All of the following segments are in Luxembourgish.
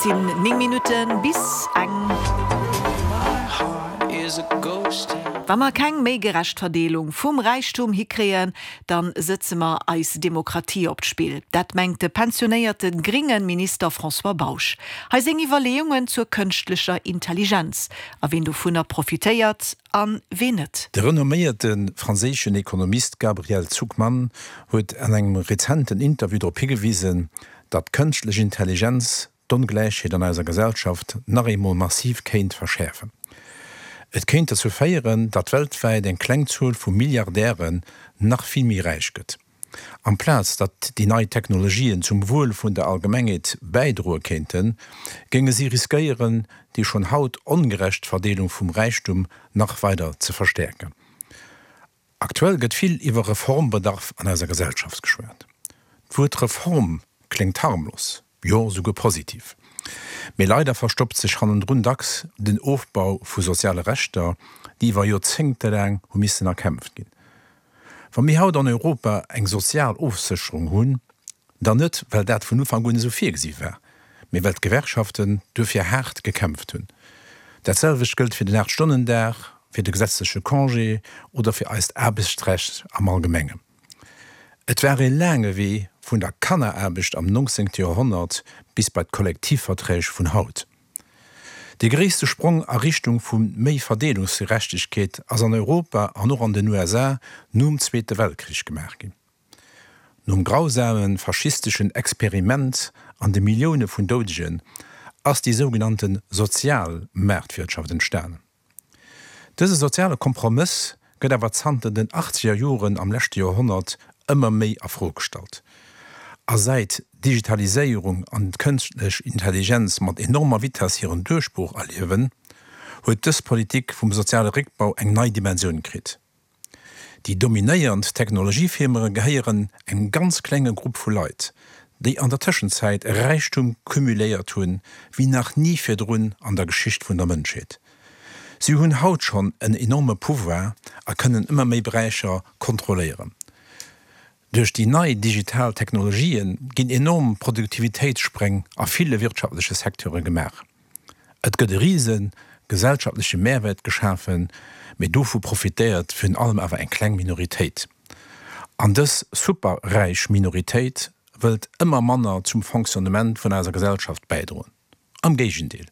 sinn 9 Minutte bis eng. Wa mer keng méi gerecht Verdeelung vum Räichtum hikréien, dann sëtze mer eis Demokratie op d'Spill. Dat mengt de pensionéierte gringe Minister François Bausch. Hei seng Iwwerleeungen zur kënschtlecher Intelligenz a ween dovunner profitéiert a ween net. De renomméierte franséischen Ekonomist Gabriel Zucman huet an engem rezenten Interview drop higewisen, datt d'kënschtlech Intelligenz d'Ongläichheet an eiser Gesellschaft nach eemol massiv kéint verschäerfen. Et kéint dozou féieren, datt weltwäit eng kleng Zuel vu Milliardären nach vill méi räich gëtt. Amplaz datt déi nei Technologien zum Wuel vun der Allgemengheet bäidroe kéinten, géinge si riskéieren, déi schonn haut ongerecht Verdeelung vum Räichtum nach weider ze verstäerken. Aktuell gëtt vill iwwer Reformbedarf an eiser Gesellschaft geschwat. D'Wuert Reform kléngt harmlos, jo souguer positiv. Mee leider verstoppt sech hannendrun dacks den Ofbau vu soziale Rechter, déi iwwer Joerzéngtelaang hu missen erkämpft ginn. Wa mir haut an Europa eng sozial Ofsécherung hunn, Dann net, well dat vun Ufank un esou virgesi war, mee well d'Gewerkschaften duerfir haart gekämpft hunn. Dat selwecht gëllt fir den Aachtstonnendag, fir de gesetzleche Congé oder fir eist Aarbechtsrecht am Allgemengen. Et war ee laange Wee vun der Kanneraarbecht am 19. Joerhonnert bis bei d'Kollektivverträg vun haut. Dee gréisste Sprong a Richtung vu méi Verdeelungsgerechtegkeet ass an Europa an och an den USA nom Zweete Weltkrich gemaach ginn. Nom grausame faschisteschen Experiment an de Millioune vun Doudegen ass déi sougenannte sozial Maartwirtschaft entstanen. Dëse soziale Kompromëss gëtt awer zanter den achtzeger Joren am leschte Joerhonnert ëmmer méi a Fro gestallt. A säit d'Digitaliséierung an d'kënschtlech Intelligenz mat enormer Vitess hiren Duerchbroch erliewen, huet dës Politik vum soziale Réckbau eng nei Dimensioun kritt. Déi dominéiernd Technologiefirmae gehéieren engem ganz klenge Grupp vu Leit, déi an der Tëschenzäit e Räichtum cumuléiert hunn, wéi nach ni virdrun an der Geschicht vun der Mënschheet. Si hunn haut schonn en enorme Pouvoir a kënnen ëmmer méi Beräicher kontrolléieren. Duerch déi nei digital Technologië ginn enorm Produktivitéitsspréng a ville wirtschaftleche Secteure gemaach. Et gëtt e rise gesellschaftleche Mehrwäert geschafen, mee dovu profitéiert virun allem awer eng kleng Minoritéit. An dës superräich Minoritéit wëllt ëmmer manner zum Fonctionnement vun eiser Gesellschaft bäidroen. Am Géigendeel,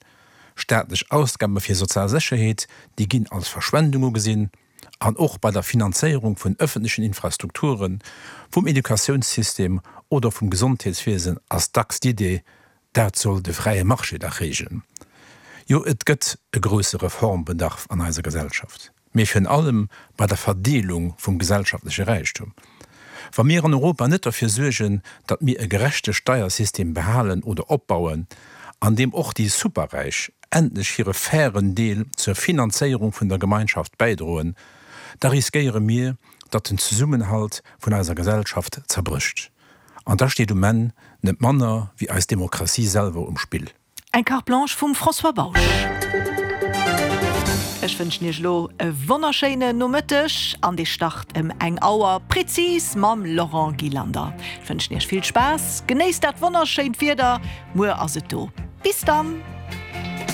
staatlech Ausgabe fir sozial Sécherheet, déi ginn als Verschwendung ugesinn, an och bei der Finanzéierung vun ëffentlechen Infrastrukturen, vum Educatiounssystem oder vum Gesondheetswiesen ass dacks d'Idee, dat soll de fräie Marché dach reegelen. Jo, et gëtt e grousse Reformbedarf an eiser Gesellschaft. Mee virun allem bei der Verdeelung vum gesellschaftleche Räichtum. Wa mir an Europa net derfir suergen, datt mir e gerechte Steiersystem behalen oder opbauen, an deem och déi Superräich endlech hire fairen Deel zur Finanzéierung vun der Gemeinschaft bäidroen, da riskéiere mir, datt den Zesummenhalt vun eiser Gesellschaft zerbrécht. An da steet um Enn net manner wéi eis Demokratie selwer um Spill. Eng Carte Blanche vum François Bausch. Ech wënschen Iech elo e wonnerschéinen Nomëtteg an dee start ëm eng Auer prezis mam Laurent Gillander. Ech wënschen Iech vill Spaass, genéisst dat wonnerschéint Wieder, muer ass et do. Bis dann!